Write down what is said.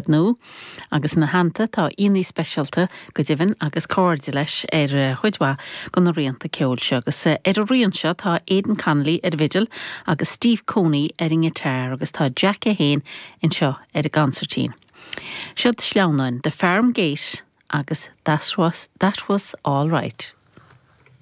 taifead nua agus ina theannta tá aíonna speisialta go deimhin agus cairde leis ar chuid mhaith de na rianta ceoil seo agus ar an rian seo tá Aidan Connolly ar an bhfidil agus Steve Coney ar an ngiotár agus tá Jack é féin anseo ar an gconsairtín. Siod sleamhnáin, The Farm Gate agus That Was, That Was All Right.